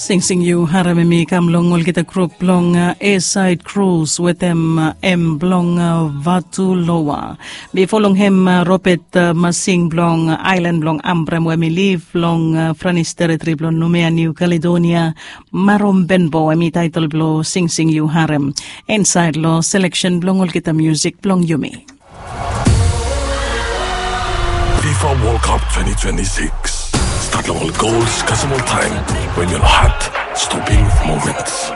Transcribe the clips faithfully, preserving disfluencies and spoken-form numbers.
Singsing yu harem em i kam long olgeta grup blong Esaid Krus wetem em blong Vatu Loa. Bifo long hem Robet Masing blong aelan blong Ambrem we em i liv long Franis teritri blong Numea, Niu Kaledonia, Marom Benbo em i taetol blong Singsing yu harem insaed long seleksen blong olgeta musik blong yumi. FIFA World Cup twenty twenty-six. Stat long ol gols kasem ol taem we ol hat stoping moments.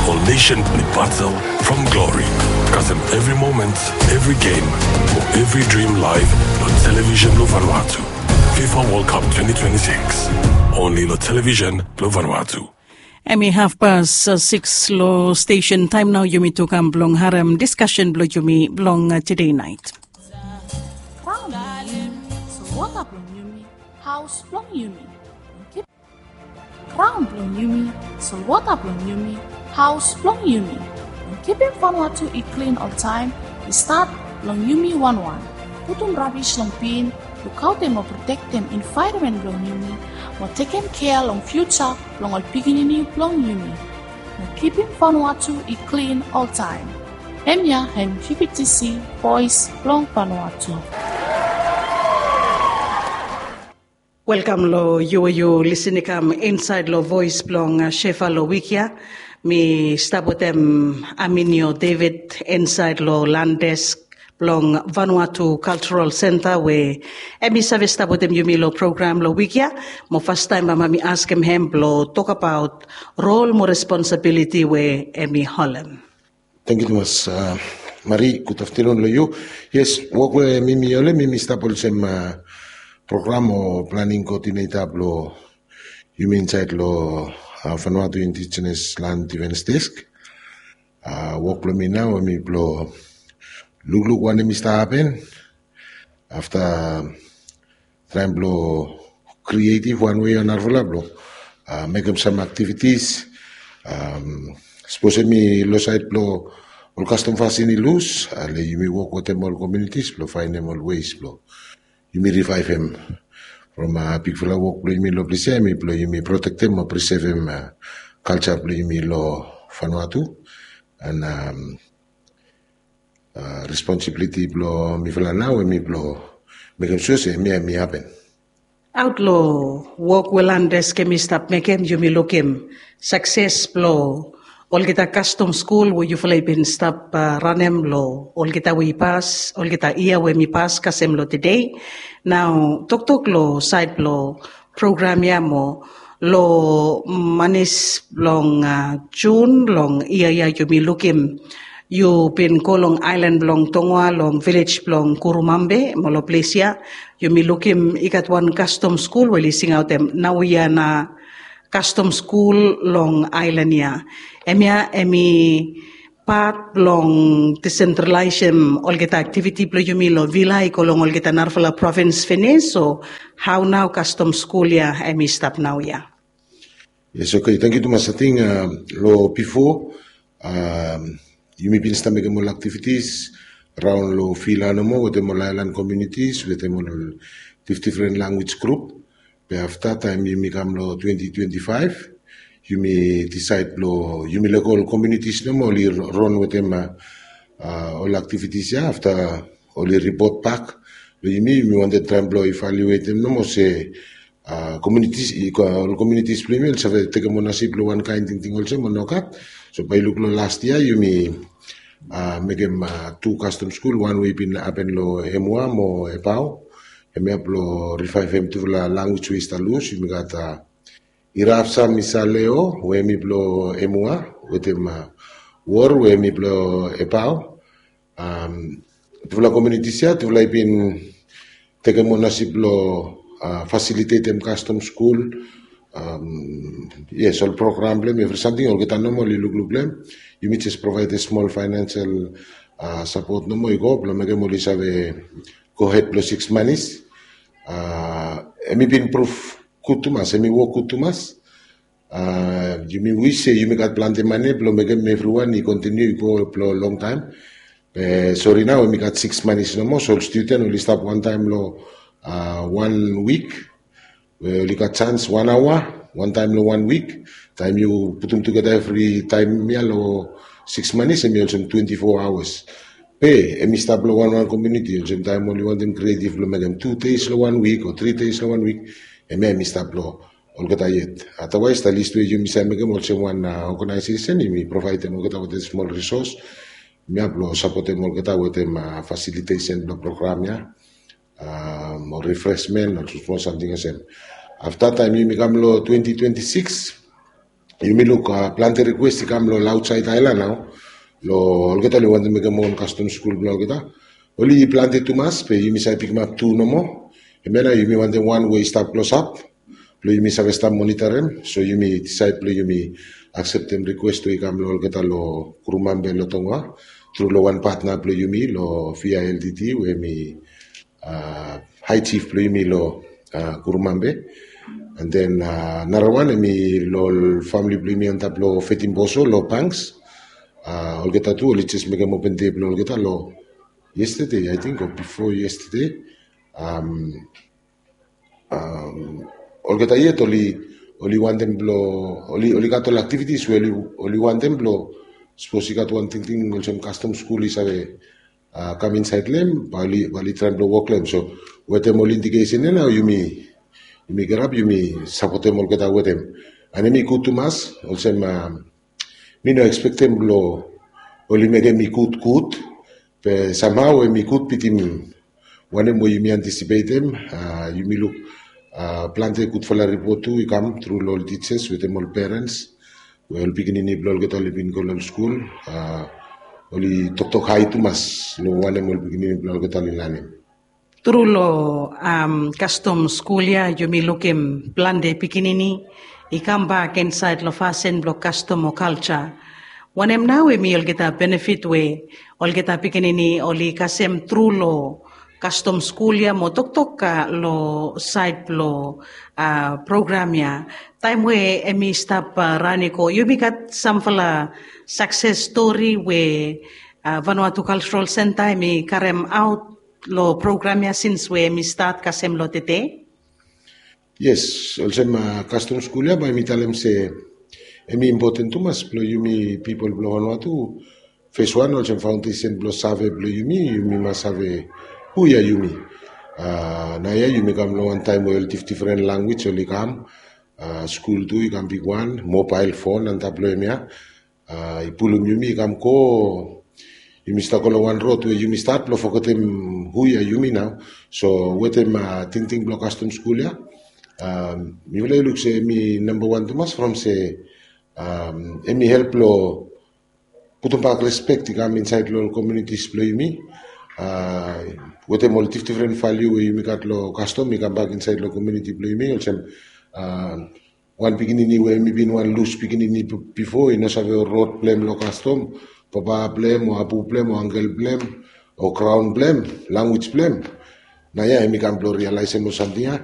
Ol nation ni batel from glory kasem evri moment, evri game o evri dream live long television blong Vanuatu. FIFA World Cup twenty twenty-six. Only long television blong Vanuatu. Em i hafpas sikis long stesen taem nao. Yumi tu kam blong harem diskasen blong yumi blong tede naet. Kraon blong yumi, solwota blong yumi, haos blong yumi. Kraon blong yumi, solwota blong yumi, haos blong yumi. Long kipim Vanuatu i klin oltaem i stat long yumi wanwan. Putum rabis long bin, lukaotem o protektem envaeronmen blong yumi, mo tekem kea long fiuja blong ol pikinini blong yumi. Mo kipim Vanuatu i klin oltaem. Hemia hem VBTC, Voes blong Vanuatu. Welkam long yu we yu lisin i kam insaed long Voes blong Shefa long wik ya. Mi stap wetem Aminio David insaed long Landes blong Vanuatu Cultural Centre we em i save stap wetem yumi long program long wik ya. Mo fastaem bae mi askem hem blong tokbaot rol mo responsabiliti we em i holem. Tangkiu tumas Mari, gud aftanun long yu. Yes, wok we mi mi holem, mi mi stap olsem program o planing koodineta blong yumi insaed long Vanuatu Indigenous Land Defence Desk. Wok blong mi nao em i blong lukluk wanem i stap hapen afta traem blong krietiv wan wei o narafala blong mekem sam aktivitis. Sapos em i long saed blong ol kastom fasin i lus, ale yumi wok wetem ol komiunitis blong faenem ol weis blong yumi rivaevem from bigfala wok blong yumi long ples ya em i blong yumi protektem o prisevem kalja blong yumi long Vanuatu. An responsibiliti blong mifala nao em i blong mekem sua se hemia em i hapen. Aot long wok we Landes em i stap mekem, yumi lukim sakses blong olgeta kastom skul we yufala i bin stap ranem long olgeta we i pas, olgeta yia we mi pas kasem long tede. Nao toktok long saed blong program ya mo long manis blong Jun long yia ya yumi lukim yu bin go long aelan blong Tongoa long vilej blong Kurumambe mo long ples ya yumi lukim i gat wan kastom skul we oli singaotem naoia na kastom skul long aelan ya. Hemia em i pat blong disentralaesem olgeta aktiviti blong yumi long vila i go long olgeta narafala provins finis, o hao nao kastom skul ya em i stap naoia? Yes, oke, tangkiu tumas. Ating long bifo yumi bin stap mekem ol aktivitis raon long vila nomo wetem ol aelan komiunitis wetem ol difdifren lanwis grup. Be afta taem yumi kam long twenti twenti faef, yumi disaed blong yumi lego ol komiunitis nomo oli ron wetem ol aktivitis ya. Afta oli ripot bak long yumi, yumi wantem traem blong ivaliuetem nomo se komiunitis, ol komiunitis blong yumi oli save tekem onasip long wan kaen tingting olsem o nogat. So bae yu luk long las yia yumi mekem tu kastom skul, wan we i bin hapen long Emua mo Ebao, hemia blong rivaevem tufala lanwis we i stap lus. Yumi gat Irapsam Isaleo we hem i blong Emua wetem Wor we hem i blong Ebao. Tufala komiunitis ya tufala i bin tekem onasip blong fasilitetem kastom skul. Yes, ol program blong hem, evri samting, olgeta nomo oli lukluk long hem. Yumi jes provaedem smol faenensel sapot nomo i go blong mekem oli save gohed long siks manis. Hem i bin pruv gud tumas, hem i wok gud tumas. Yumi wis se yumi gat plante mane blong mekem evriwan i kontiniu i go blong longtaem. Be sori nao hem i gat siks manis nomo, so ol studen oli stap wantaem long wan wik. we oli gat sans wan aoa, wan taem long wan wik. Taem yu putum tugeta evri taem ya long six months, hemi olsem twenty-four hours. Be hemi stap long wan wan komuniti, olsem taem oli wantem creative blong mekem two days long wan wik o three days long wan wik, hemia hemi stap long olgeta yet. Otherwise, the least we yumi save mekem olsem wan organization, yumi provaedem olgeta wetem smol resource mia blong sapotem olgeta wetem facilitation blong program ya, o refreshment o smol samting olsem. Afta taem yumi kam long twenty twenty-six, yumi luk plante request i kam long aotsaed aelan nao, long olgeta oli wantem mekem on kastom skul blong olgeta. Oli plante tumas, be yumi save pikimap tu nomo. Hemia nao yumi wantem wan we i stap klosap blong yumi save stap monitorem. So yumi disaed blong yumi akseptem request we i kam long olgeta long Gurumambe long Tonga, tru long wan patna blong yumi long V I L T T, we hemi high chief blong yumi long Gurumambe. And then narawan hemi long famili blong yumi antap long Fetimboso long Banks. Olgeta tu oli jes mekem open day blong olgeta long yesterday, I think, o bifo yesterday. Olgeta yet oli, oli wantem blong, oli, oli gat ol activities we oli, oli wantem blong, sapos i gat wan tingting olsem kastom skul i save kam insaed long hem, bae oli, bae oli traem blong wok long hem. So wetem ol indication ya nao yumi, yumi girap, yumi sapotem olgeta wetem. And hemi gud tumas, olsem mi no ekspektem blong oli mekem i gudgud, be somehow hemi gud bitim wanem we yumi antisipetem. Yumi luk plante gudfala ripot tu i kam tru long ol teachers wetem ol parents, we ol pikinini blong olgeta oli bin go long skul, oli toktok hae tumas long wanem ol pikinini blong olgeta oli lanem. Tru long kastom skul ya yumi lukim plante pikinini i kambak insaed long fasin blong kastom o kalja. Wanem nao hemi olgeta benefit we olgeta pikinini oli kasem tru long kastom skul ya mo toktok long saed blong program ya? Taem we hemi stap ran i go, yumi gat samfala sakses stori we Vanuatu Cultural Centre hemi karemaot long program ya sins we hemi stat kasem long tede? Yes, olsem kastom skul ya bae mi talem se hemi impoten tumas blong yumi pipol blong Vanuatu. Fes wan, olsem faondesen blong save blong yumi, yumi mas save hu ya yumi. Naoia yumi kam long wan taem we ol difdifren lanwis oli kam, skul tu i kam bigwan, mobael fon antap long hemia. I pulum yumi i kam go, yumi stap go long wan rod we yumi stat blong fogetem hu ya yumi nao. So wetem tingting blong kastom skul ya, mifala i luk se hemi nambawan tumas from se hemi help blong putumbak respek i kam insaed long ol komunitis blong yumi. Wetem ol difdifren valiu we yumi gat long kastom i kambak insaed long komuniti blong yumi, olsem wan pikinini we hemi bin wan lus pikinini bifo, i no save ol rod blong hem long kastom, papa blong hem o apu blong hem o angkel blong hem o graon blong hem, lanwis blong hem. Naoia hemi kam blong rialaesem ol samting ya,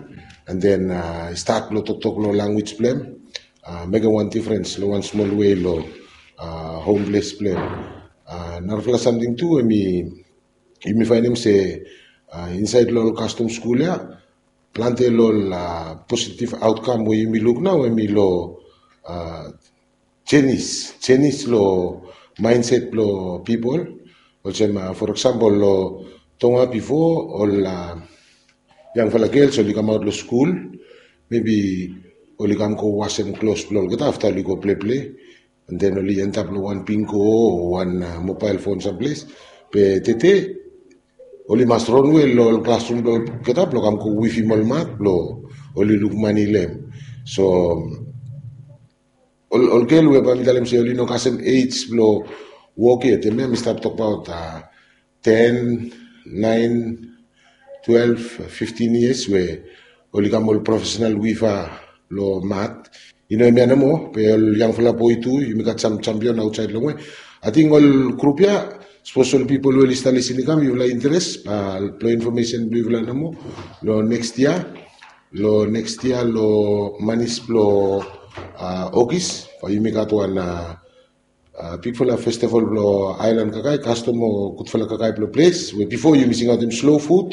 and then i stat blong toktok long lanwis blong hem, mekem wan difrens long wan smol wei long hom ples blong hem. Narafala samting tu hemi, yumi faenem se insaed long ol kastom skul ya, plante long ol positiv aotkam we yumi luk nao hemi long jenis, jenis long maenset blong pipol. Olsem for eksampol long Tonga bifo, ol yangfala gels oli kamaot long skul, mebi oli kam go wasem klos blong olgeta afta oli go pleple, and then oli endap long wan bingo o wan mobael fon samples. Be tede oli mas ronwe long ol klasrum blong olgeta blong kam go wivim ol mak blong oli luk mane long hem. So ol, ol gel we bae mi talem se oli no kasem ej blong wok yet, hemia mi stap tokbaot ten, naen, twelef, fiftin yias we oli kam ol profesenal wiva long mat. I no hemia nomo, be ol yangfala boe tu, yumi gat sam jampion aotsaed longwe. Ating ol grup ya, sapos ol pipol we oli stap lisin i kam, yufala interes, blong infomesen blong yufala nomo, long neks yia, long neks yia long manis blong Ogis, bae yumi gat wan bigfala festival blong aelan kakae, kastom o gudfala kakae blong ples we bifo yumi singaotem slow food,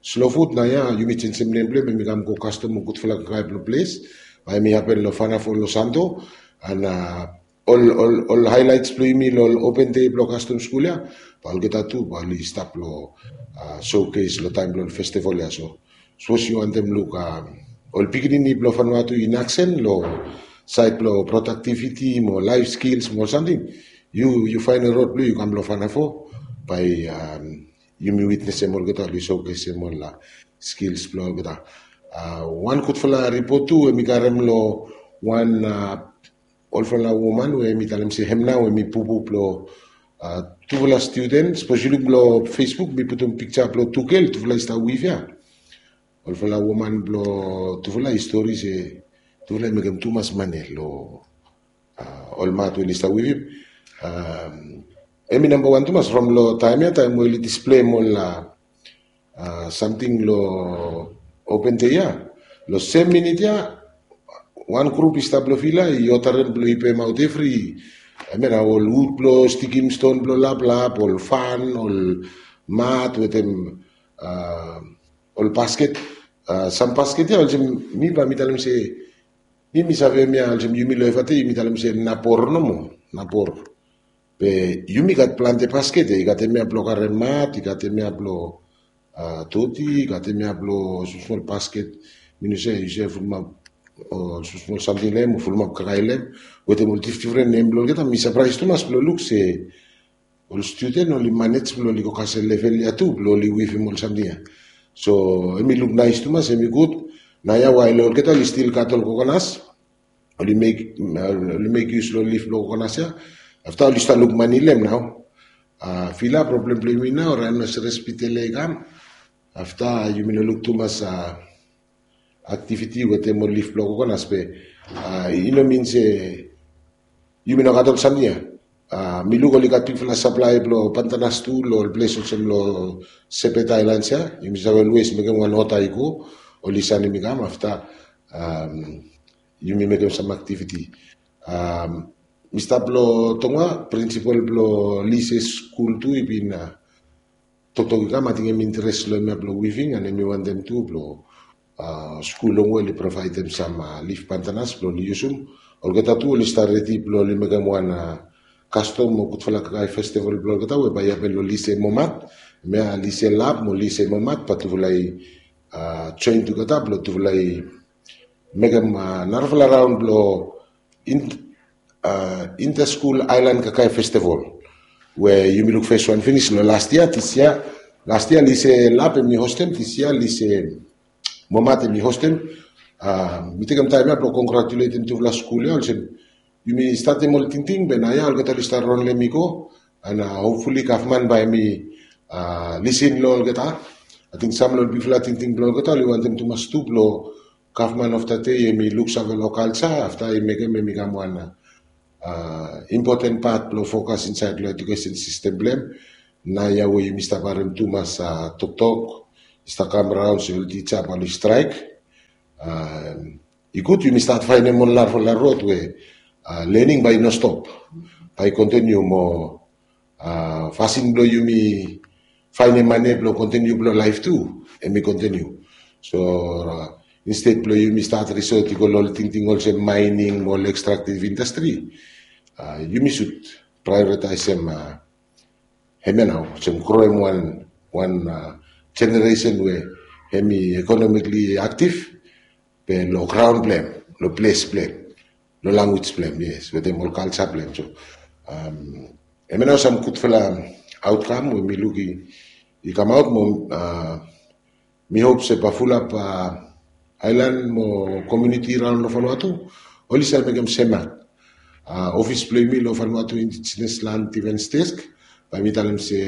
Slow Food naoia yumi jenjem nem blong hem, hem i kam go kastom mo gudfala kakae blong ples. Bae hem i hapen long Fanafo long Santo. And ol ol ol highlights blong yumi long ol open day blong kastom skul ia, bae olgeta tu bae oli stap long showcase long taem blong ol festival ia. So sapos yu wantem luk ol pikinini blong Vanuatu in action long saed blong productivity mo life skills mo ol samting, yu yu faenem rod blong yu kam long Fanafo, bae yumi witnesem olgeta oli showcasem ol skills blong olgeta. Wan gudfala ripot tu we mi karem long wan olfala woman we mi talem se hem nao we mi pupu blong tufala studen. Sapos yu luk long Facebook mi putum pikja blong tu gel, tufala i stap wif ia. Olfala woman blong tufala i stori se tufala i mekem tumas mane long ol mat we oli stap wifim. Hem i nambawan tumas from long taem ia, taem we oli displeim ol samting long open day ia, long sem minit ia wan grup i stap long fila i odarem blong i pemaot evri, hem ia nao ol wud blong stikim ston blong laplap, ol fan, ol mat wetem ol basket. Sam basket ia olsem mi bae mi talem se mi mi save hem ia olsem yumi long Efate yumi talem se nabor nomo, nabor. Be yumi gat plante basket ia, i gat hem ia blong karem mat, i gat hem ia blong doti, i gat hem ia blong smosmol basket, mi no save yu save fulumap ol smosmol samting long hem o fulumap kakae long hem, wetem ol difdifren nem blong olgeta. Mi sapraes tumas blong luk se ol studen oli manej blong oli go kasem level ia tu blong oli wifim ol samting ia. So hem i luk naes tumas, hem i gud. Naoia wael olgeta oli stil gat ol kokonas, oli mek oli mek yus long lif blong kokonas ia. Afta oli stap luk mane long hem nao. Fila problem blong yumi nao raenos respitele i kam. Afta yumi no luk tumas aktiviti wetem ol lif blong kokonas be i no min se yumi no gat ol samting ia. Mi luk oli gat bigfala saplae blong pantanas tu long ol ples olsem long Sepet Aelans ia. Yumi save olwes mekem wan oda i go, oli sanem i kam afta yumi mekem sam aktiviti. Mi stap long Tonga, prinsipol blong Lise skul tu i bin toktok i kam, ating hem interes long hem ia blong wiving and hem i wantem tu blong skul longwe oli provaedem sam lif pantanas blong oli yusum. Olgeta tu oli stap redi blong oli mekem wan kastom o gudfala kakae festival blong olgeta we bae i hapen long Lise Momat. Hem ia Lise Lap mo Lise Momat bae tufala i joen tugeta blong tufala i mekem narafala raon blong Inter School Island Kakae Festival we yumi luk fes wan finis long last year, this year. Last year Lise Lap hem i hostem, this year Lise Momat hem i hostem. Mi tekem taem ia blong kongratuletem tufala skul ia olsem yumi statem ol tingting be naoia olgeta oli stap ron long hem i go. And hopfully gavman bae hem i lisin long olgeta. Ating sam long ol bigfala tingting blong olgeta oli wantem tumas tu blong gavman of the day hem i luksave long kalja afta i mekem hem i kam wan impoten pat blong fokas insaed long edukesen sistem blong hem. Naoia we yumi stap harem tumas toktok i stap kam raon se ol tija bae oli straek. I gud yumi stat faenem ol narafala rod we lening bae i no stop, bae i kontiniu mo fasin blong yumi faenem mane blong kontiniu blong laef tu hem i kontiniu. So insted blong yumi stat risot i go long ol tingting olsem maening mo ol ekstraktiv indastri, yumi sud praeoritaesem hemia nao olsem groem wan wan jeneresen we hem i ekonomikli aktiv be long graon blong hem, long ples blong hem, long lanwis blong hem, yes, wetem ol kalja blong hem. So hemia nao sam gudfala aotkam we mi luk i kamaot mo mi hop se bae fulap aelan mo komuniti raon long Vanuatu oli save mekem sem mak. Ofis blong yumi long Vanuatu Indigenous Land Defence Desk, bae mi talem se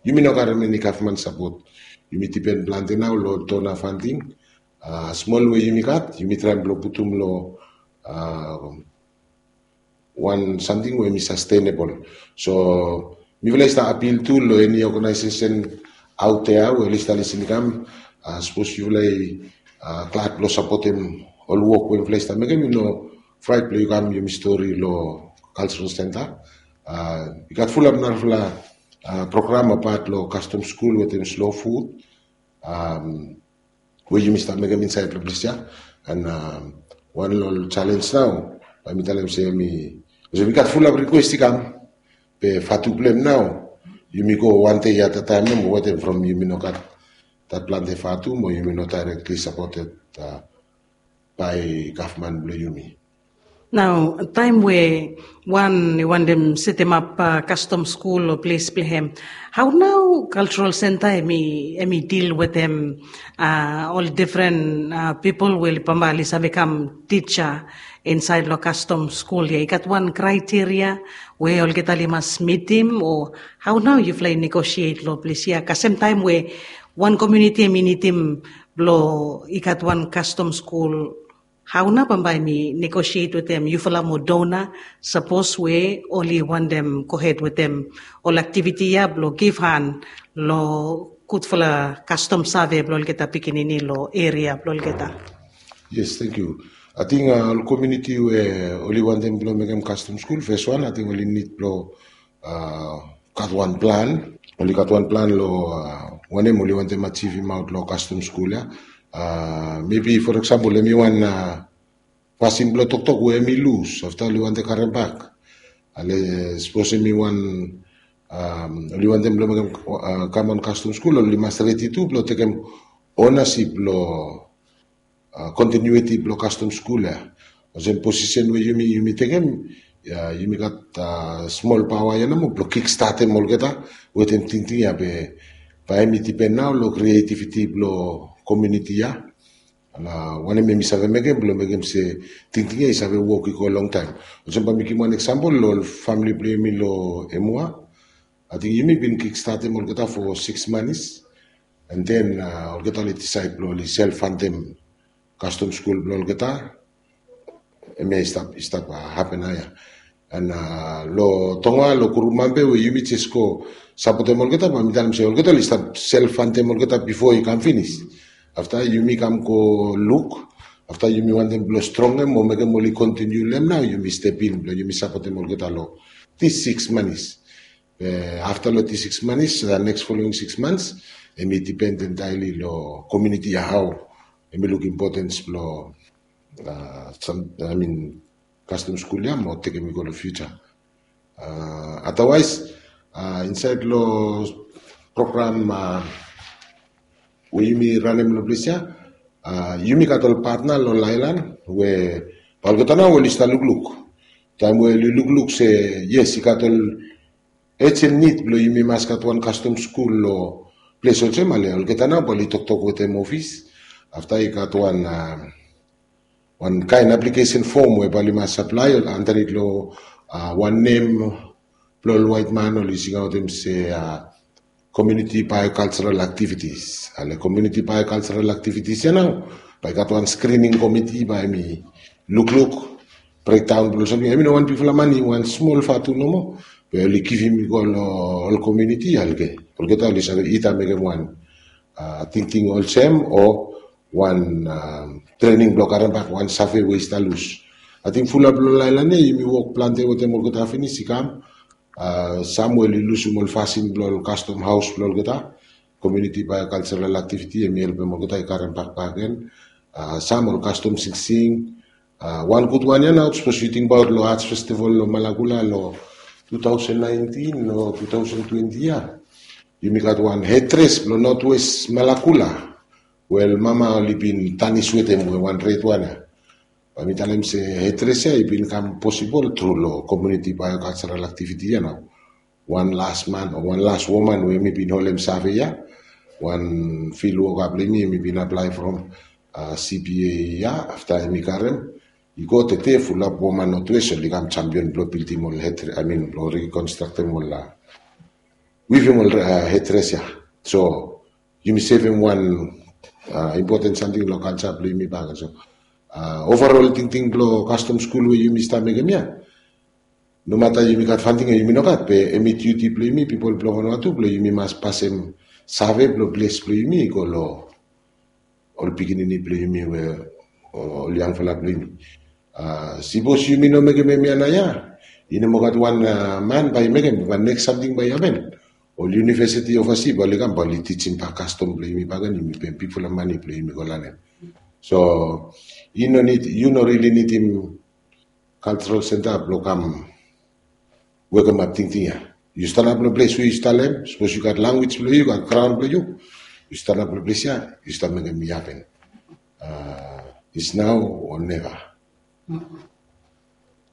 yumi no karem eni gavman sapot. Yumi dipen plante nao long dona fanting. Smol we yumi gat yumi traem blong putum long wan samting we hem i sastenebol. So mifala i stap apil tu long eni oganaesesen aot dea we oli stap lisin i kam, sapos yufala i glad blong sapotem ol wok we mifala i stap mekem, i no fraet blong yu kam yumi stori long kalsral senta. I gat fulap narafala program apat long kastom skul wetem Slow Food. we yumi stap mekem insaed long ples ya. An wan long ol selens nao, bae mi talem se mi olsem i gat fulap rikwes i kam, be fatu blong hem nao, yumi go wan dei at a taem nomo wetem from yumi no gat dat plante fatu mo yumi no daerektli sapoted bae gavman blong yumi. Nao taem we wan i wantem setemap kastom skul o ples blong hem, hao nao kaltral senta hem i dil wetem ol difren pipol we bambae oli save kam tija insaed long kastom skul ya? I gat wan kraeteria we olgeta oli mas mitim, o hao nao yufala i negosiet long ples ya kasem taem we wan komuniti hem i nidim blong i gat wan kastom skul? Hao nao bambae mi negosiet wetem yufala mo dona, sapos we oli wantem gohed wetem ol aktiviti ya blong givhan long gudfala kastom save blong olgeta pikinini long eria blong olgeta. Yes, tangkiu. Ating ol komuniti we oli wantem blong mekem kastom skul, feswan ating oli nid blong gat wan plan, oli gat wan plan long wanem oli wantem ajivimaot long kastom skul ya. Mebi for eksampol hem i wan pasin blong toktok we hem i lus afta oli wantem karem bak. Ale sapos hem i wan oli wantem blong mekem kam wan kastom skul, oli mas redi tu blong tekem onasip long kontinuiti blong kastom skul ya. Olsem posisen we yumi yumi tekem ya, yumi gat smol paoa ya nomo blong kikstatem olgeta wetem tingting ya, be bae hem i dipen nao long krietiviti blong komuniti ya. Wanem hem i save mekem blong mekem se tingting ya i save wok i go longtaem. Olsem bae mi givim wan eksampol long ol famili blong yumi long Emua. Ating yumi bin kikstatem olgeta fo siks manis, an den olgeta oli disaed blong oli self fantem kastom skul blong olgeta. Hemia i stap i stap hapen nao ya. An long Tonga long Gurumambe we yumi jes go sapotem olgeta, bae mi talem se olgeta oli stap self fantem olgeta bifo i kam finis. Afta yumi kam go luk, afta yumi wantem blong strongem o mekem oli kontiniu long hem nao, yumi step in blong yumi sapotem olgeta long dis siks manis. Afta long dis siks manis, neks folowing siks mans, hem i dipen entaeli long komuniti ya hao hem i luk impotens blong kastom skul ya mo tekem i go long fiuja. Adawaes insaed long program we yumi ranem long ples ya, yumi gat ol patna long ol aelan we bae olgeta nao oli stap lukluk. Taem we oli lukluk se yes, i gat ol ejen nid blong yumi mas gat wan kastom skul long ples olsem, ale olgeta nao bae oli toktok wetem ofis. Afta i gat wan wan kaen aplikesen fom we bae oli mas aplae andanit long wan nem blong ol waetman, oli singaotem se komuniti baeokaljeral aktivitis. Ale komuniti baeokaljeral aktivitis ya nao bae i gat wan skrining komiti bae hem i lukluk brekdaon blong ol samting. Hem i no wan bigfala mane, wan smol fatu nomo, be oli givim i go long ol komuniti ya. Olgeta oli save ida mekem wan tingting olsem o wan trening blong karem bak wan save we i stap lus. Ating fulap long ol aelan ya yumi wok plante wetem olgeta finis i kam. Sam we oli lusum ol fasin blong ol kastom haos blong olgeta. Komuniti baeokaljeral aktiviti hem i helpem olgeta i karem bak bakegen. Sam ol kastom singsing. Wan gud wan ya nao, sapos yu tingbaot long Arts Festival long Malakula long two thousand nineteen o two thousand twenty ya, yumi gat wan hedres blong Northwest Malakula we ol mama oli bin tanis wetem we wan red wan ya. Bae mi talem se hedres ya i bin kam posibol tru long komuniti baeokaljeral aktiviti ya nao. Wan las man o wan las woman we hem i bin holem save ya, wan fil woka blong yumi hem i bin aplae from CBA ya, afta hem i karem i go tede fulap woman Northwest oli kam jampion blong bildim ol hedres, I mean blong rikonstraktem ol, wivim ol hedres ya. So yumi sevem wan impoten samting long kalja blong yumi bak. So overol tingting blong kastom skul we yumi stap mekem ya, nomata yumi gat fanting o yumi no gat, be hem i diuti blong yumi pipol blong Vanuatu blong yumi mas pasem save blong ples blong yumi i go long ol pikinini blong yumi we ol yangfala blong yumi. Sipos yumi no mekem hemia naoia, i no moa gat wan man bae i mekem, be neks samting bae i hapen. ol university overseas bae oli kam bae oli tijim bak kastom blong yumi bakegen, yumi pem bigfala mane blong yumi go lanem. So yu no nid, yu no rili nidim cultural center blong kam wekemap tingting ya. Yu stanap long ples we yu stap long hem, sapos yu gat lanwis blong yu, yu gat graon blong yu, yu stanap long ples ya, yu stap mekem i hapen. It's now or never.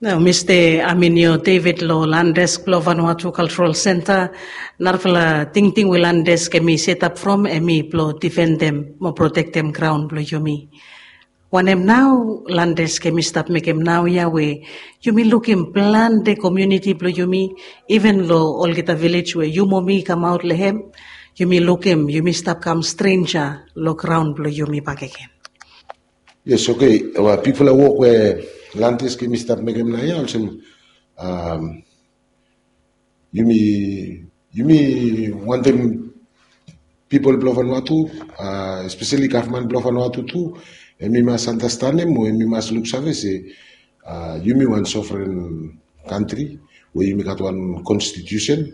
Nao Mista Aminio David long Land Desk blong Vanuatu Cultural Center, narafala tingting we Land Desk hemi setap from hemi blong difendem mo protektem graon blong yumi. Wanem nao Land Desk hemi stap mekem naoia we yumi lukim plante komuniti blong yumi, iven long olgeta vilej we yu mo mi i kamaot long hem, yumi lukim yumi stap kam strenja long graon blong yumi bakegen. Yes, okay. Bigfala wok we Land Desk hemi stap mekem naoia olsem, yumi, yumi wantem pipol blong Vanuatu, espeseli gavman blong Vanuatu tu, hemi mas andastanem o hemi mas luksave se yumi wan sovren kantri we yumi gat wan konstitusen,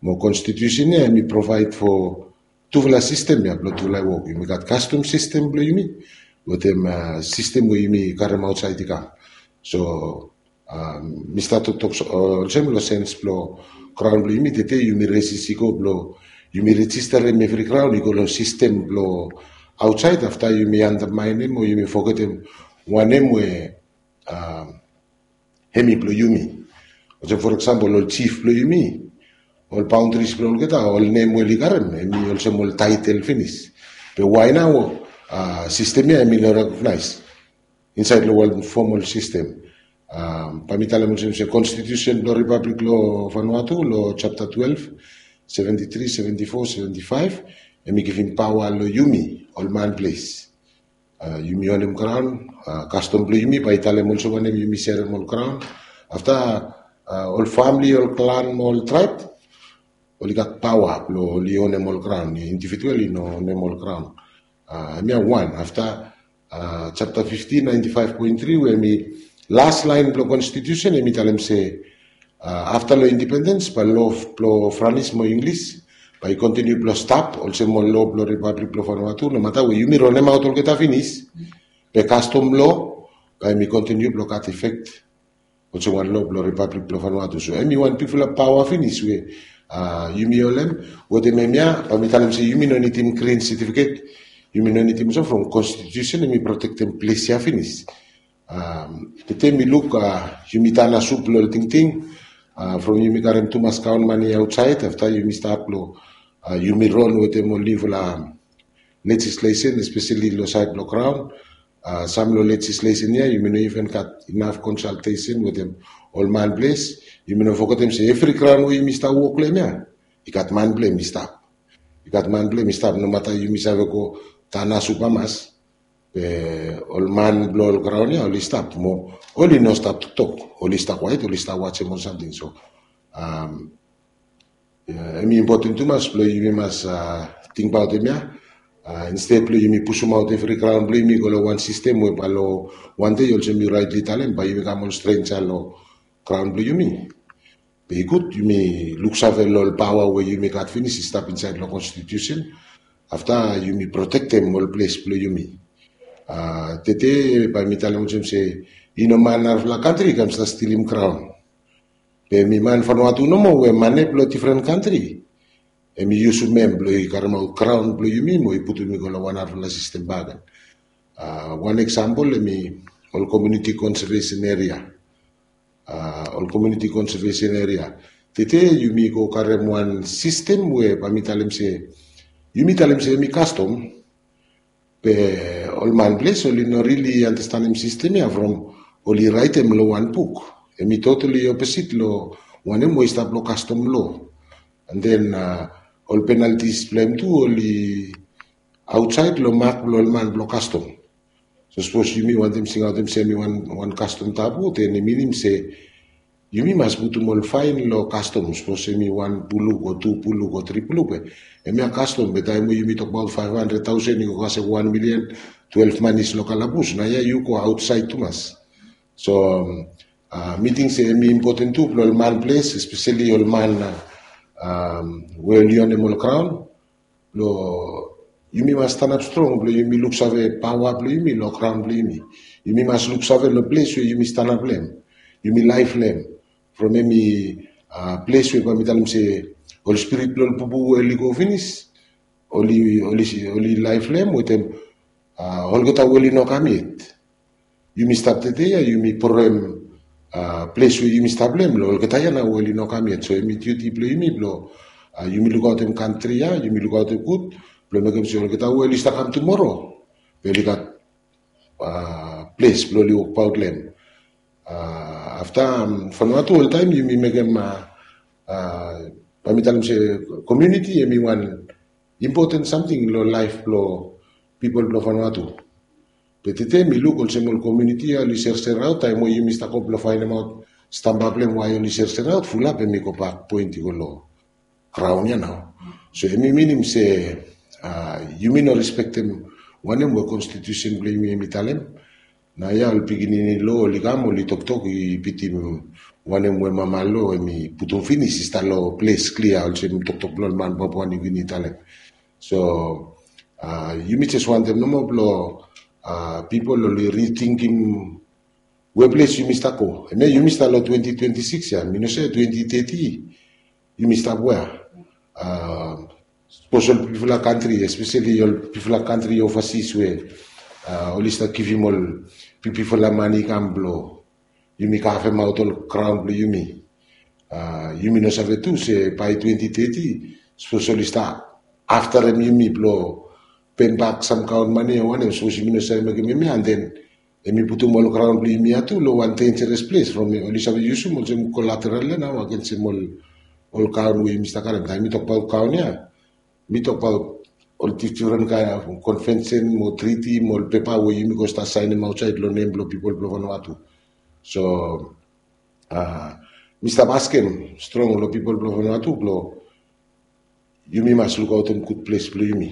mo konstitusen ya hemi provaed fo tufala sistem ya blong tufala wok. Yumi gat kastom sistem blong yumi wetem sistem we yumi karem aotsaed i kam. So mi stap toktok olsem long sens blong graon blong yumi, tede yumi resis i go blong yumi rejistarim evri graon i go long sistem blong aotsaed, afta yumi andamaenem o yumi fogetem wanem we hemi blong yumi. Olsem for eksampol ol jif blong yumi, ol baondris blong olgeta, ol nem we oli karem hemi olsem ol taetel finis. Be wae nao sistem ya hemi no rekognaes insaed long wan fomal sistem? Bae mi talem olsem se konstitusen blong Ripablik blong Vanuatu long japta twelve, seventi tri, seventi fo, seventi faef, hemi givim paoa long yumi ol man ples. Yumi onem graon, kastom blong yumi bae i talem olsem wanem yumi serem ol graon. Afta ol famili, ol klan mo ol traeb oli gat paoa blong oli onem ol graon. Individual i no onem ol graon. Hemia wan. Afta japta fiftin, naenti faef poen tri, we hemi las laen blong konstitusen, hemi talem se afta long indipendens bae lo blong Franis mo Inglis bae i kontiniu blong stap olsem ol lo blong Ripablik blong Vanuatu, nomata we yumi ronemaot olgeta finis, be kastom lo bae hemi kontiniu blong gat efek olsem wan lo blong Ripablik blong Vanuatu. So hemi wan bigfala paoa finis we yumi holem. Wetem hemia bae mi talem se yumi no nidim grin setifiket, yumi no nidim olsem, from konstitusen hemi protektem ples ya finis. Tede mi luk yumi tan asup long ol tingting from yumi karem tumas graon mane aotsaed, afta yumi stat long yumi ron wetem ol niufala lejislesen, espeseli long saed blong graon. Sam long lejislesen ya yumi no iven gat inaf konsaltesen wetem ol man ples. Yumi no fogetem se evri graon we yumi stap wok long hem ya i gat man blong hem i stap. I gat man blong hem i stap, nomata yumi save go tan asup hamas, be ol man blong ol graon ya oli stap mo oli no stap toktok, oli stap kwaet, oli stap wajem ol samting. So hemi impoten tumas blong yumi mas tingbaot hemia, insted blong yumi pusumaot evri graon blong yumi go long wan sistem we bae long wan dei olsem yu raetli talem bae yumi kam ol strenja long graon blong yumi. Be i gud yumi luksave long ol paoa we yumi gat finis i stap insaed long konstitusen. Afta yumi protektem ol ples blong yumi. Tede bae mi talem olsem se i no man narafala kantri i kam stap stilim graon. Be hemi man Vanuatu nomo we mane blong difren kantri hemi yusum hem blong i karemaot graon blong yumi mo i putum i go long wan narafala sistem bakegen. Wan eksampol hemi ol komuniti konsevesen eria. Ol komuniti konsevesen eria. Tede yumi go karem wan sistem we bae mi talem se, yumi talem se hemi kastom, be ol man ples oli no rili andastanem sistem ya from oli raetem long wan buk. Hemi totali oposit long wanem we i stap long kastom lo. An den ol penaltis blong hem tu oli aotsaed long mak blong ol man blong kastom. So sapos yumi wantem singaotem se hemi wan kastom tabu, den i minim se yumi mas putum ol faen long kastom. Sapos hemi wan puluk o tu puluk o tri puluk, be hemia kastom, be taem we yumi tokbaot faef handred taosen i go kasem wan milian, twelef man i stap long kalabus, naoia yu go aotsaed tumas. So mi ting se hemi impoten tu blong ol man ples, espeseli ol man we oli onem ol graon. Blong yumi mas stanap strong blong yumi luksave paoa blong yumi long graon blong yumi. Yumi mas luksave long ples we yumi stanap long em, yumi laef long em. From em i ples we bae mi talem se ol spirit blong ol pupu we oli go finis, oli oli laef long em wetem olgeta we oli no kam yet. Yumi stap tede ya, yumi proem ples we yumi stap long em long olgeta ya nao we oli no kam yet. So em i diuti blong yumi blong yumi lukaotem kantri ya, yumi lukaotem gud blong mekem se olgeta we oli stap kam tumoro, be oli gat ples blong oli wokbaot long em. Afta, Vanuatu oltaem yumi mekem, bae mi talem se komuniti em i wan impoten samting long laef blong pipol blong Vanuatu. Be tede mi luk olsem ol komuniti ya oli serseraot, taem we yumi stap go blong faenemaot stamba blong em wae oli serseraot, fulap em i gobak poen i go long graon ya nao. So em i minim se yumi no respektem wanem we konstitusen blong yumi em i talem. Naoia ol pikinini lo oli kam oli toktok i bitim wanem we mama lo em i putum finis i stap long ples klia olsem toktok blong ol man Papua Niugini i talem. So yumi jes wantem nomo blong pipol oli ritingim we ples yumi stap go. Em ya yumi stap long twenti twenti sikis ya, mi no save twenti teti yumi stap wea. Sapos ol bigfala kantri, espeseli ol bigfala kantri ovasis we oli stap givim ol bigfala mane i kam blong yumi kavemaot ol graon blong yumi. Yumi no save tu se bae twenti teti sapos oli stap aftarem yumi blong pembak sam kaon mane o wanem, sapos yumi no save mekem hemia, and then em i putum ol graon blong yumi ya tu long wan denjeres ples from oli save yusum olsem kolateral ya nao agensem ol kaon we yumi stap karem. Taem mi tokbaot kaon ya, mi tokbaot ol difren kaen konvensen mo triti mo ol pepa we yumi go stap saenem aotsaed long nem blong pipol blong Vanuatu. So mi stap askem strong long pipol blong Vanuatu blong yumi mas lukaotem gud ples blong yumi.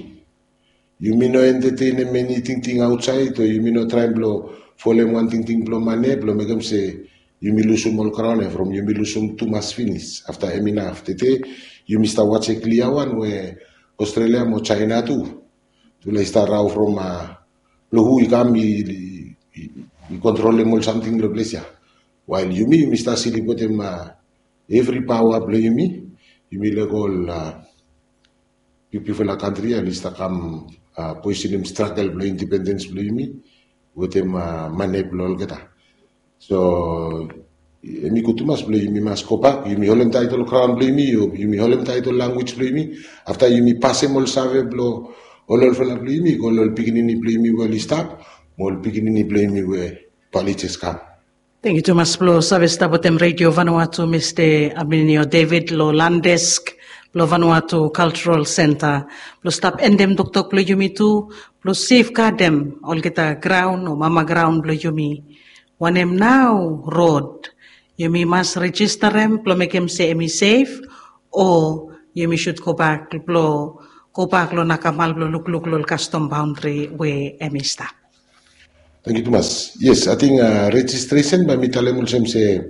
Yumi no entetenem eni tingting aotsaed o yumi no traem blong folem wan tingting blong mane blong mekem se yumi lusum ol graon ya from yumi lusum tumas finis. Afta em inaf tede yumi stap waje klia wan we Australia mo China tu tule i stap rao from blong hu i kam i kontrolem ol samting long ples ya. Wael yumi yumi stap silip wetem evri paoa blong yumi. Yumi lego ol bigfala kantri ya oli stap kam poesenem stragel blong indipendens blong yumi wetem mane blong olgeta. So em i gud tumas blong yumi mas gobak, yumi holem taet ol graon blong yumi, yumi holem taet ol lanwis blong yumi. Afta yumi pasem ol save blong ol olfala blong yumi go long ol pikinini blong yumi we oli stap mo ol pikinini blong yumi we bae oli jes kam. Tangkiu tumas blong save stap wetem Redio Vanuatu, Mista Aminio David long Landesk blong Vanuatu Cultural Centre blong stap endem toktok blong yumi tu blong sefgadem olgeta graon o mama graon blong yumi. Wanem nao rod yumi mas rejistarem blong mekem se em i sef, o yumi sud gobak blong gobak long nakamal blong lukluk long ol kastom baondri we em i stap? Tangkiu tumas. Yes, ating rejistresen bae mi talem olsem se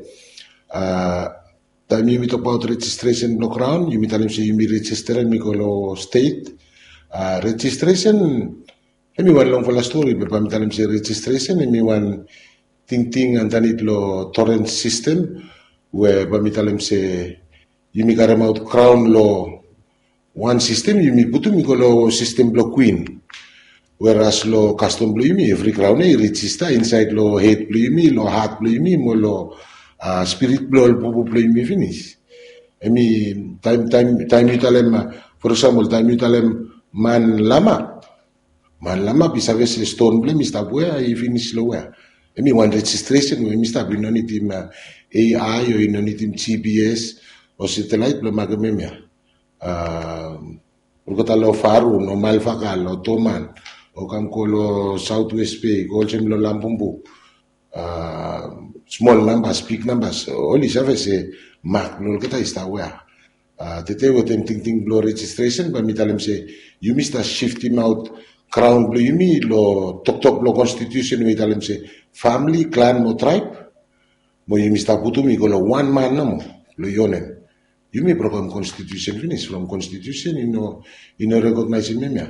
taem yumi tokbaot rejistresen blong graon yumi talem se yumi rejistarem i go long stet. Rejistresen em i wan longfala stori be bae mi talem se rejistresen em i wan tingting andanit long torens sistem we bae mi talem se yumi karemaot graon long wan sistem yumi putum i go long sistem blong kwin. Weras long kastom blong yumi evri graon ya i rejista insaed long hed blong yumi, long hat blong yumi mo long spirit blong ol pupu blong yumi finis. Em i taem taem taem yu talem, for example taem yu talem man lama, man lama bai save se ston blong em i stap wea i finis long wea. Em i wan rejistresen we em i stap, i no nidim ai o i no nidim gps o setelaet blong makem em ya. Olgeta long Faru, long Malvaka, long Toman, o kam go long Saotwes Bei, go olsem long Lambumbu, smol nambas, big nambas, oli save se mak blong olgeta i stap wea. Tede wetem tingting blong rejistresen bae mi talem se yumi stap siftimaot graon blong yumi long toktok blong konstitusen we i talem se famili, klan mo traeb, mo yumi stap putum i go long wan man nomo blong i onem. Yumi brokem konstitusen finis from konstitusen i no i no rekognaesim em ya.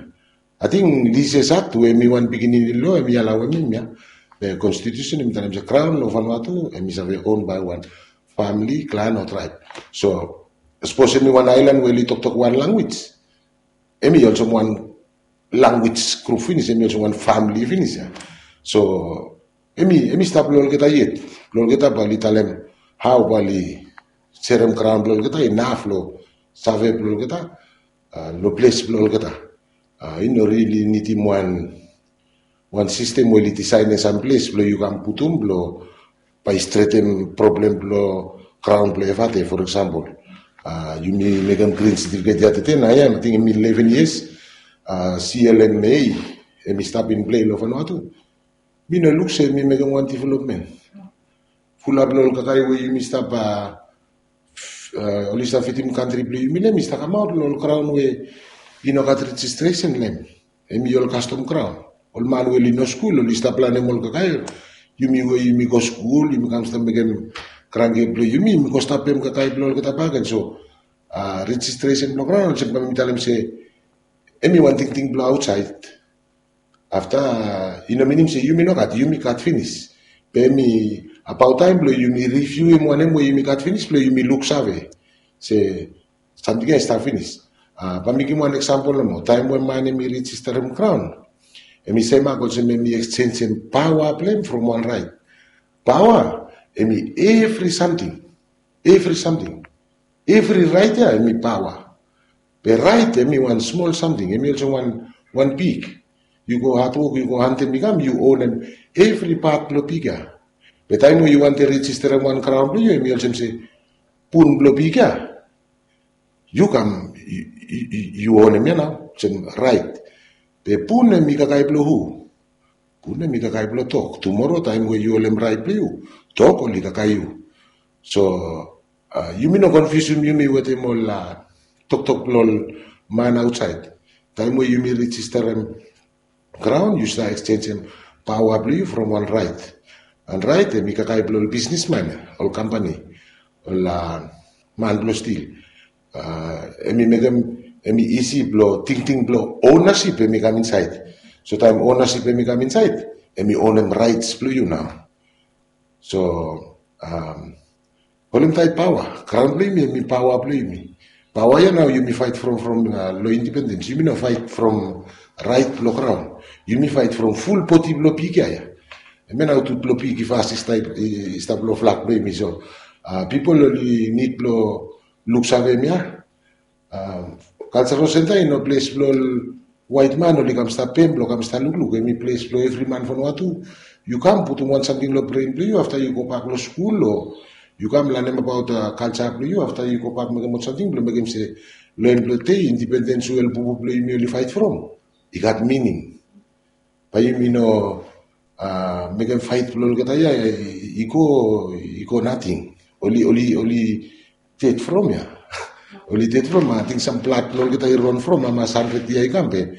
Ating lises akt we em i wan pikinini lo em i alaoem em ya. Be konstitusen em i talem se kraon lo Vanuatu em i save on bae wan famili, klan o traeb. So sapos em i wan aelan we oli toktok wan lanwis, em i olsem wan lanwis grup finis, em i olsem wan famili finis ya. So em i em i stap lo olgeta yet, lo olgeta bae oli talem hao bae oli serem kraon blo olgeta inaf lo save blo olgeta, lo ples blo olgeta. I no rili nidim wan wan sistem we oli disaenem sam ples blo yu kam putum blo bae i stretem problem blo kraon blo evate. For eksampol, yumi mekem grin setifiket ya tete na ya ating em i leven yias. Clma em i stap in plei lo Vanuatu, mi no luk se em i mekem wan developmen. Fulap lo ol kakae we yumi stap oli stap fidim kantri blo yumi lo em i stap kamaot lo ol kraon we i no gat rejistresen lo em. Em i ol kastom kraon. Ol man we oli no skul oli stap lanem ol kakae. Yumi we yumi go skul yumi kam stap mekem grangke blo yumi yumi go stap pem kakae blo olgeta baken. So rejistresen blo kraon olsem kam yumi talem se em i wan tingting blo aotsaed. Afta i no minim se yumi no gat, yumi gat finis. Be em i abaot taem blo yumi riviuim wanem we yumi gat finis blo yumi luksave se samting ya i stap finis. Bae mi givim wan eksampol nomo, taem we man em i rejisterem kraon, em i semak olsem em i eksenjem paoa blo em from wan raet. Paoa em i evri samting. Evri samting. Evri raet ya em i paoa. Be raet em i wan smol samting, em i olsem wan wan pig. Yu go hatwok, yu go hantem i kam, yu onem evri pat blo pig ya. Be taem we yu wantem rejisterem wan kraon blo yu em i olsem se pun blo pig ya yu kam yu onem ya nao olsem raet. Be pun em i kakae blo hu? Pun em i kakae blo tok. Tumoro taem we yu holem raet blo yu, tok oli kakae yu. So yumi no konfiusim yumi wetem ol toktok blo ol man aotsaed. Taem we yumi rejisterem kraon yu stap eksenjem paoa blo yu from wan raet. An raet em i kakae blo ol bisnisman, ol kampani, ol man blo stil. Em i mekem em i isi blo tingting blo onasip em i kam insaed. So taem onasip em i kam insaed, em i onem raets blo yu nao. So holemtaet paoa, kraon blo yumi em i paoa blo yumi. Paoa ya nao yumi faet from from lo indipendens, yumi no faet from raet blo kraon. Yumi faet from ful bodi blo pig ya ya. Em ya nao tut blo pig i fas i stap lo flak blo yumi. So pipol oli nid blo luksave em ya. Kalsarol senta i no ples blo ol waet man oli kam stap pem blo kam stap lukluk, em i ples blo evri man Vanuatu. Yu kam putum wan samting lo bren blo yu afta yu gobak lo skul o yu kam lanem abaot kalsa blo yu afta yu gobak mekem ol samting blo mekem se lo en blo dei indipendens we ol bubu blo yumi oli faet from i gat mining. Bae yumi no mekem faet blo olgeta ya i go i go nating. Oli oli oli ded from ya. Oli ded from ating sam blad blo olgeta i ron from hamas handred yia i kam be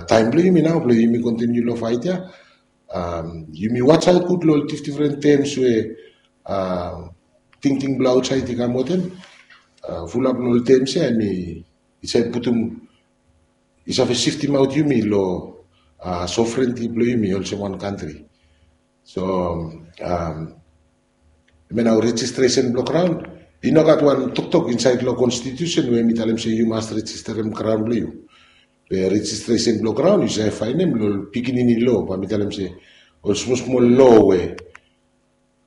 taem blo yumi nao blo yumi kontiniu lo faet ya. Yumi wasaot gud lo ol difdifren tems we tingting blo aotsaed i kam wetem. Fulap lo ol tems ya em i save putum i save siftimaot yumi lo sovrenti blo yumi olsem wan kantri. So em ya nao rejistresen blo kraon i no gat wan toktok insaed lo konstitusen we em i talem se yu mas rejisterem kraon blo yu. Be rejistresen blo kraon yu save faenem lo ol pikinini lo bae mi talem se ol smosmol lo we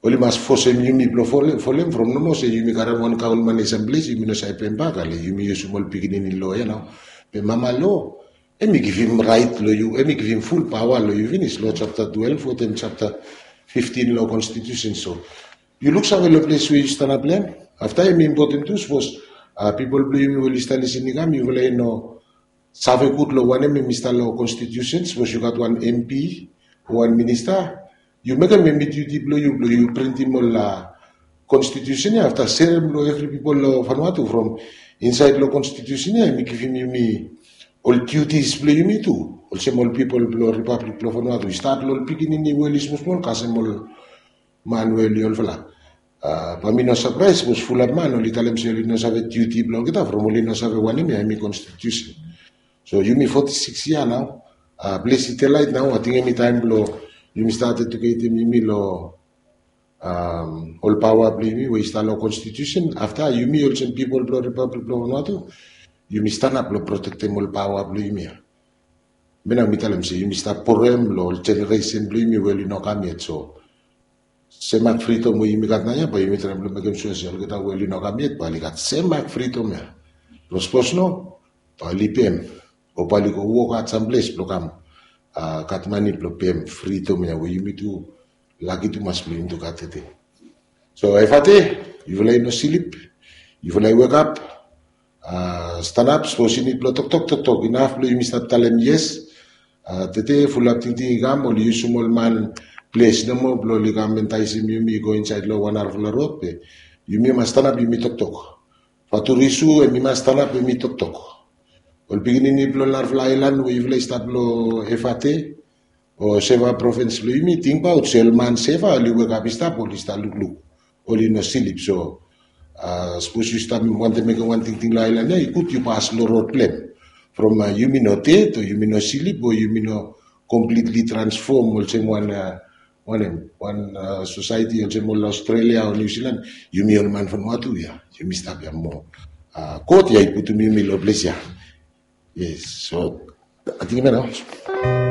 oli mas fosem yumi blo folem from nomo se yumi karem wan kaon mane sam ples yumi no save pembak ale yumi yusum ol pikinini lo ya nao. Be mama lo em i givim raet lo yu, em i givim ful paoa lo yu finis lo japta twelef wetem japta fiftin lo konstitusen. So yu luksave lo ples we yu stanap lo em. Afta em i impoten tu sapos pipol blo yumi we oli stap lisin i kam yufala i no save gud lo wanem em i stap lo konstitusen. Sapos yu gat wan mp o wan minista, yu mekem em i diuti blo yu blo yu printim ol konstitusen ya afta serem lo evri pipol lo Vanuatu from insaed lo konstitusen ya em i givim yumi ol diutis blo yumi tu olsem ol pipol blo ripablik blo Vanuatu i stat lo ol pikinini we oli smosmol kasem ol man we oli olfala. Bae mi no sapraes sapos fulap man oli talem se oli no save diuti blong olgeta from oli no save wanem ya hemi konstitusen. So yumi foti sikis yia nao, ples i telait nao, ating hemi taem blong yumi stat ejuketem yumi long ol paoa blong yumi we i stap long konstitusen. Afta yumi olsem pipol blong ripablik blong Vanuatu, yumi stanap blong protektem ol paoa blong yumi ya. Hemia nao mi talem se yumi stap borem long ol jeneresen blong yumi we oli no kam yet. So semak fridom we yumi gat naoia bae yumi traem blong mekem sua se olgeta we oli no kam yet bae oli gat semak fridom ya. Blong sapos no, bae oli pem o bae oli go wok at samples blong kam gat mane blong pem fridom ya we yumi tu laki tumas blong yumi tu gat tede. So Efate, yufala i no slip, yufala i wekap, stanap, sapos i nid blong toktok, toktok. Inaf blong yumi stap talem yes. Tede fulap tingting i kam oli yusum ol man ples nomo blong oli kam entaesem yumi i go insaed long wan narafala rod be yumi mas stanap yumi toktok. Faturisu hemi mas stanap hemi toktok. Ol pikinini blong narafala aelan we yufala i stap long Efate o Seva provins blong yumi, tingbaot se ol man Seva oli wekap i stap, oli stap lukluk, oli no slip. So sapos yu stap wantem mekem wan tingting long aelan ya, i gud yu pas long rod blong hem. From yumi no ded o yumi no slip o yumi no komplitli transfom olsem wan wanem, wan sosaeti olsem ol Australia o New Zealand, yumi ol man Vanuatu ya yumi stap ya moa. God ya i putum yumi long ples ya. Yes, so ating hemia nao.